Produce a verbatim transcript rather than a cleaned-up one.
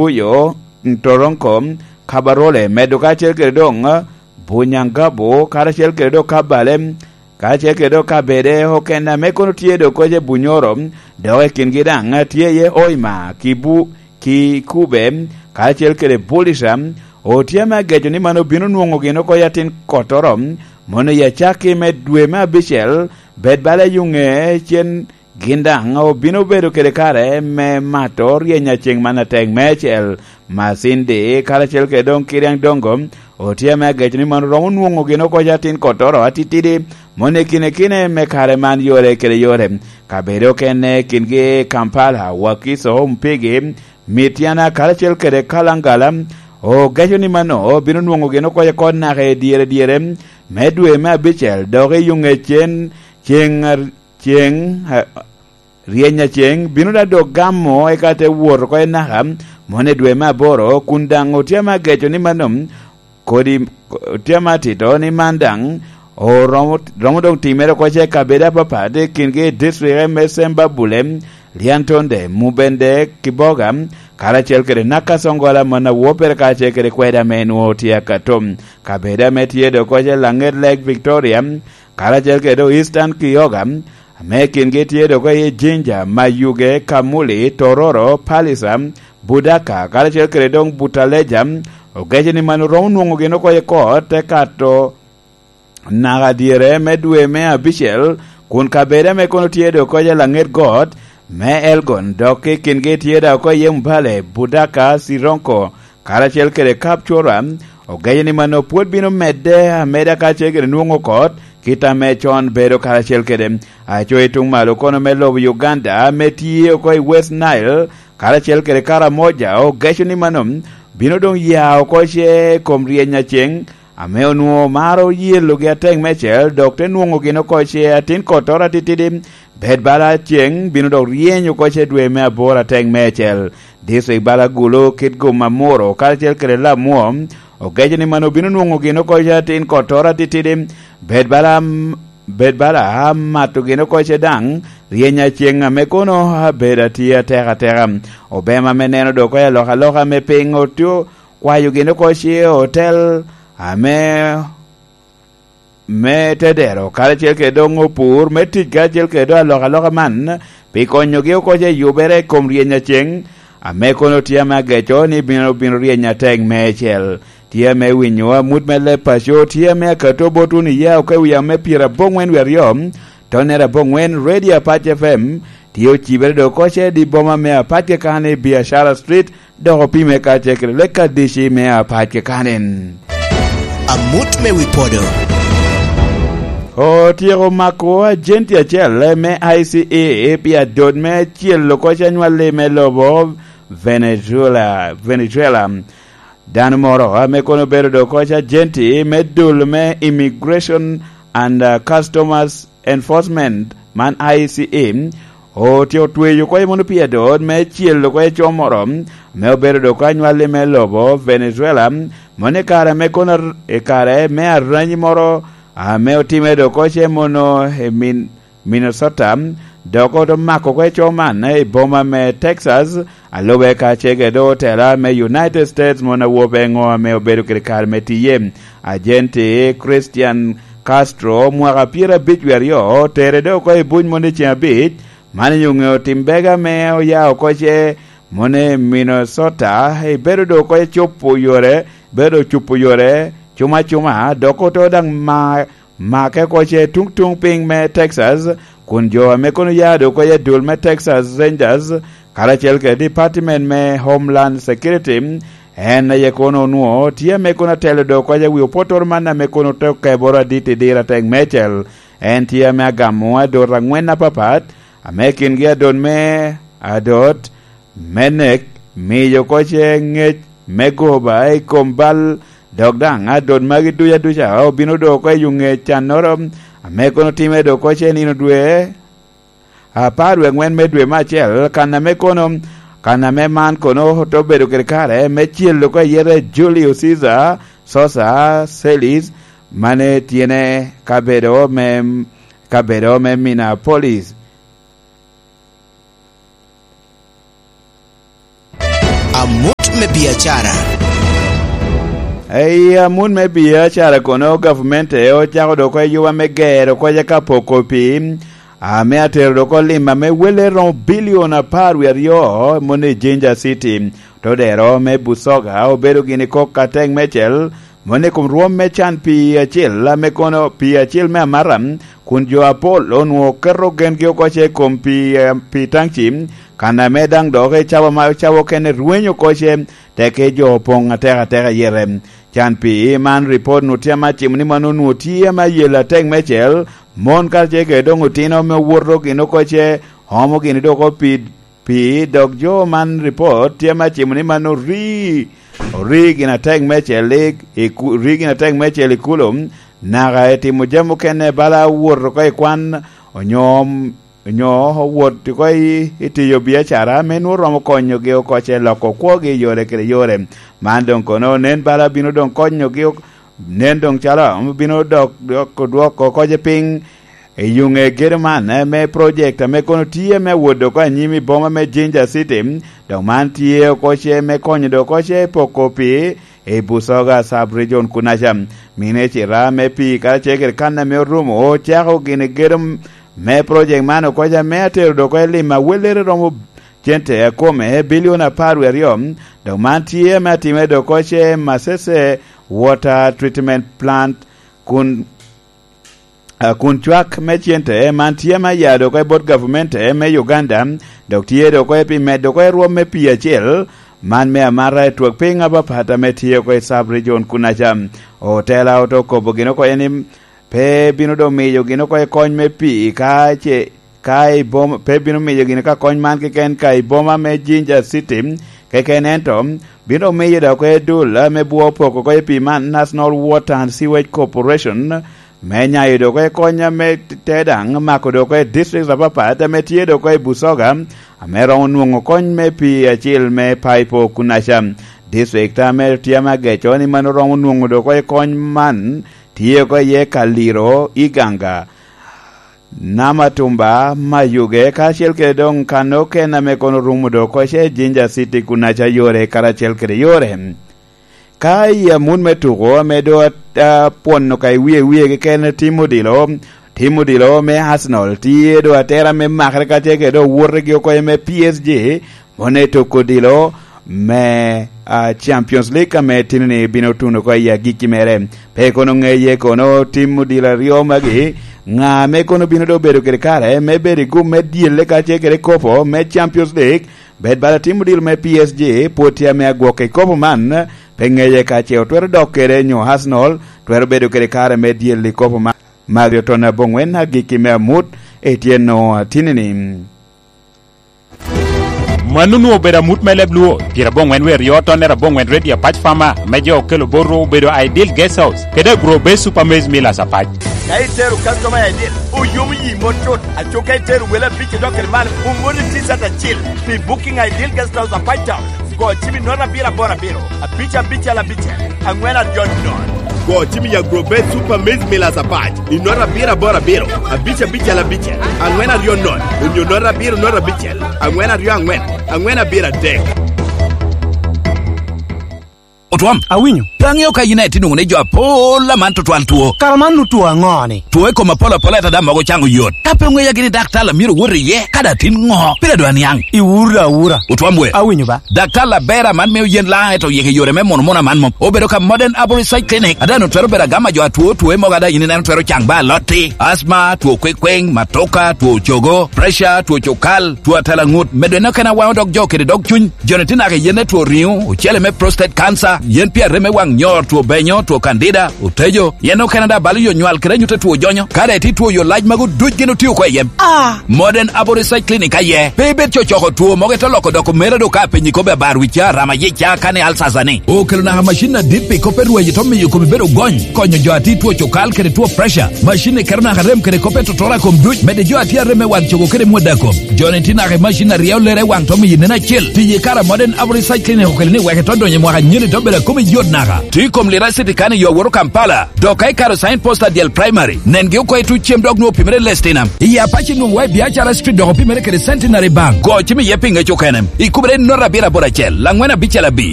Buyo, Toronko, Kabarole, medo kacel kede doŋ Bunyangabu, karacel kede doŋ Kabale, kacel kede doŋ kabede okene ame kono tye doŋ koc i Bunyoro, dok i kingi daŋ tye iye Hoima, Kibu, Kikube, kacel kede Bulisa. Otye ame ageco ni man obino nwoŋo gin oko i atin kottoro, mono i acakki me dwe me abicel, bed bala yuŋe cen gin daŋ obino bedo kede kare me mato ryeny aceŋ man atek meicel. Macindi karacel kede doŋ Kiriaŋ Doŋgo otye ame ageco ni man romo nwoŋo gin oko i atin kottoro atitidi, mono i kine kine me kare man yore kede yore. Kabedo okene kingi Kampala, Wakiso, Mpigi, Mityana karacel kede Kalangala, ogeco ni mano bino nwoŋo gin oko i kot naka i dyere dyere me dwe me abicel, dok i yuŋe cen, ceŋ, ceŋ, a, ryeny aceŋ bino daŋ dok gamo, eka te wot oko i naka, mono i dwe me aboro, kun daŋ otye ame ageco ni mano kodi, otye ame atito ni man daŋ oromo, romo doŋ timere oko ce i kabedo apapat, i kingi i district me Sembabule, Lyantonde, Mubende, Kiboga, karacel kede Nakasongola, Manawopere, karacel kede kwede ame nwoŋo tye akato. Kabedo ame tye doŋ oko ce Laŋet Lake Victoria, karacel kede Eastern Kyoga, ame kingi tye doŋ oko iye Jinja, Mayuge, Kamuli, Tororo, Pallisa, Budaka, karacel kede doŋ Butaleja, ogeco ni man oromo nwoŋo gin oko i kot, te kato naka dyere me dwe me abicel, kun kabedo ame kono tye doŋ oko i laŋet got me Elgon, dok i kingi tye doŋ oko iye Mbale, Budaka, Sironko, karacel kede Kapcora, ogeco ni mano pwod bino medde ameda kacel kede nwoŋo kot, kit ame con bedo karacel kede. Aco i tuŋ malo kono me lobo Uganda, ame tye oko i West Nile, karacel kede Karamoja, ogeco ni mano bino doŋ ya oko ce i kom ryeny aceŋ, ame onwoŋo maro yelogi atek meicel, dok te nwoŋo gin oko ce atin kottoro atitidi, bed bala ceŋ bino dok ryeny oko ce dwe me aboro atek meicel. District bala Gulu, Kitgum, Amuru, karacel kede Lamwo, ogeco ni mano bino nwoŋo gin oko ce atin kottoro atitidi, bed bala, bed bala amato gin oko ce daŋ, ryeny aceŋ ame kono abedo atye atek ateka. Obema me neno doŋ oko i alokaloka me piny otye kwayo gin oko ce otel ame, me tedero, karacel kede doŋ opur, me tic karacel kede doŋ alokaloka man, pi konyogi oko ce yubere i kom ryeny aceŋ, ame kono tye ame ageco ni bino, bino ryeny atek meicel. Tye ame winyo amut me leb paco, tye ame akato bot wunu iya oko i wi ame pyeraboŋwen wie aryo, tonere aboŋwen, Radio Apac F M, tye ocibere doŋ oko ce i boma me Apac kekane i Biashara Street, dok opime kacel kede lek adici me Apac kekanen. Amut me wi podo. Otyeko mako ajenti acel me I C E pi adot me celo koc anywalli me lobo Venezuela, Venezuela. Dano moro ame kono obedo doŋ koc ajenti me dul me Immigration and, uh, Customers Enforcement, man I C E, otye otweyo oko i mono pi adot me celo oko i co moro, ame obedo doŋ oko anywalli me lobo Venezuela, mono i kare ame kono ar-, i kare me aranyi moro, ame otime doŋ oko ce mono i Min-, Minnesota, dok oto mako oko i co man i boma me Texas, a lube ka cege doŋ otela me United States mono awobe ŋo ame obedo kede kare me tiye. Ajenti Christian Castro, mwaka pyerabic wie aryo, otere doŋ oko i buc mono i ceŋ abic, man onyo ŋeo tim bega ame oya oko ce mono i Minnesota, ebedo doŋ oko i cupo yore, bedo cupo yore, cuma cuma, dok oto daŋ ma make oko ce tuŋ tuŋ piny me Texas, kun jo ame kono ya doŋ oko i adul me Texas Rangers, karacel kede Department me Homeland Security, en aye kono onwoŋo tye ame kono atelo doŋ oko i wi opotoro man ame kono te okeboro adit i diro atek meicel. En tye ame agamo adot aŋwen apapat, ame kingi adot me adot me nek, miyo oko ce ŋec me goba i kom bal, dok daŋ adot magi duca duca obino doŋ oko i yo ŋec cannoro, ame kono time doŋ oko ce nino dwe apar wie aŋwen me dwe me acel, kan ame kono, kan ame man kono te obedo kede kare me celo oko i yete Julio Cesar Sosa Celis, mane tyene kabedo me, kabedo me Minneapolis. Amut me biacara. Ei amut me biacara kono, gavumenti ocako dok oko i yuba me gero koca ka poko pii, ame atero dok oko lim ame welle romo bilion apar wie aryo moni i Jinja City. Todero me Busoga obedo gini kok atek mecel moni i kom rwom me can pii acil ame kono pii acil me amata, kun jo apol onwoŋo keto gengi oko ce i kom pii, eh, pii taŋci, kan ame daŋ dok i cawa ma cawa okene rwenyo oko ce, teke jo opoŋ atek ateka yete. Can pii man, ripot-nu tye ame acimo ni man onwoŋo tye ame ayel atek mecel, mon karacel kede doŋ otino ame owoto gin oko ce, omo gini dok oko pii, pii, dok jo man ripot tye ame acimo ni man ori, ori gin atek mecel i, i ku-, ori gin atek mecel i kulo, naka i timo jami okene bala wot oko i kwan, onyo onyo owot oko i, i tiyo biacara ame nwoŋo romo konyogi oko ce loko kwogi i yore kede yore. Man doŋ kono nen bala bino doŋ konyogi ok-, nen doŋ calo bino dok, dok, dwoko oko ce piny i yuŋe gedo man, eh, me project ame kono tye me wot oko anyim i boma me Jinja City. Dok man tye oko ce me konyo dok oko ce poko pii i Busoga Sub Region kunaca. Mine cita me pii karacel kede kan ame orumo ocako gini gedo me project man oko ca, me atero dok oko i lim awellere romo cente akome bilion apar wie aryo, dok man tye ame atime dok oko ce Masese Water Treatment Plant, kun, ah, kun cwak me cente man tye ame aya dok oko i bot gavumenti me Uganda, dok tye dok oko pi medo oko i rwom me pii acel, man me amata i twak piny apapat ame tye oko i Sub Region kunaca. Otela oto kobo gin oko ni pe bino doŋ miyo gin oko i kony me pii ka ce, ka i boma, pe bino miyo gin ka kony man keken ka i boma me Jinja City keken, ento bino miyo dok oko i dul ame bwo poko oko i pii man, National Water and Sewage Corporation, me nyayo dok oko i kony ame te daŋ mako dok oko i districts apapat ame tye dok oko i Busoga, ame romo nwoŋo kony me pii acil me paipo kunaca. District ame tye ame ageco ni mano romo nwoŋo dok oko i kony man tye oko iye Kaliro, Iganga, Namatumba, Mayuge, kacel kede doŋ kan okene ame kono rumo dok oko ce Jinja City kunaca yore karacel kede yore. Ka i amut me tuko ame doŋ at-, apwono ka i wie wie keken, tim odilo, tim odilo me Arsenal tye doŋ atera me makere kacel kede doŋ wotegi oko me P S G, mone toko odilo me, ah, Champions League ame tini-ni bino tuno oko i agikki mere. Pe kono ŋeye kono tim odilo aryo magi, ŋa ame kono bino doŋ bedo kede kare me bedo i gum me dyelle kacel kede kopo me Champions League, bed bala tim odilo me P S G pwod tye ame agwokke i kopo man, pe ŋeye ka ce otwero dok kede nyo Arsenal twero bedo kede kare me dyel i kopo man. Mario Tona Bongwen agikki me amut, Etienne Atinini. Mano onwoŋo obedo amut me leb Luo, pyerabongwen wie aryo tonne abongwen redio Apac Farmer, ame jo okelo botwu obedo Ideal Guest House, kede Agro Base Super Maize Millers Apac. Ka itero customer i Ideal, oyomo yi mot cut, aco ka itero wele abic idok kede man, omoni T-shirt acil pi booking Ideal Guest House Apac Town. Go cim i note abiro aboro abiro, abic abicel abicel, angwen aryo nono. Go cim i Agro Base Super Maize Millers Apac i note abiro aboro abiro, abic abicel abicel, angwen aryo nono, onyo note abiro note abicel, angwen aryo angwen, angwen abiro adek. Otwom. Awinyo. Pe aŋeo ka in aye tye nwoŋo ni jo apol aman tutwal two. Kara man nu two aŋo-ni? Two i kom apol apol, ento daŋ mogo caŋo yot. Ka pe oŋeya gini daktar a myero owot iye, ka daŋ tin ŋo? Pire dwa niaŋ. Iwura awura. Otwom we. Awinyo ba. Daktar Labera man mio yen laŋ, ento yeke yore me mono mono aman mom. Obedo ka Modern Arborist Side Clinic. Ada no twero bedo agama jo atwo, two mogo ada in ineno twero caŋ ba alotti. Asma, two kwekweng, matoka, two cogo, pressure, two cokal, two atela ŋut. Medo en okene awaŋo dog jo kede dog cuny. Joni tye naka i yen me two riŋo, ocele me prostate cancer, yen pi arem me waŋ nyor, two benyo, two candida, otejo. Yen okene daŋ balo yo nywal kede anyut a two jonyo. Ka daŋ itye two yo lac magu duc gin otio oko i yen. Ah! Modern Aboriginal Clinic aye. Pe ibed cocoko two mogo ite loko doko mera do ka penyi kobbe abar wicca, rama yicca, kane alsasa ni. Okelo naka macin adit pi kop me rweny ito miyo kome bedo gony, konyo jo a tye two cokal kede two pressure. Macin ni keto naka rem kede kop me totoro a kom duc, medde jo a tye arem me wang cogo kede mwod a kom. Joni tye naka i macin a ryeo lere i wang to miyo nen acel. Tiyo i kare a Modern Aboriginal Clinic okelo ni wek ito donyo i mwaka nyen ito bedo a kome yot naka. Tye i kom Lira City kan i yo a woto Kampala. Dok ka ikato Sign Post Adyel Primary, nengi oko i tuc cem dok nwoŋo opimere Lestinam. I Apac nwoŋo wa i Biacara Street dok opimere kede Centenary Bank. Go cim iye pi ŋec okene. Ikubere i note abiro aboro acel, angwen abicel abic.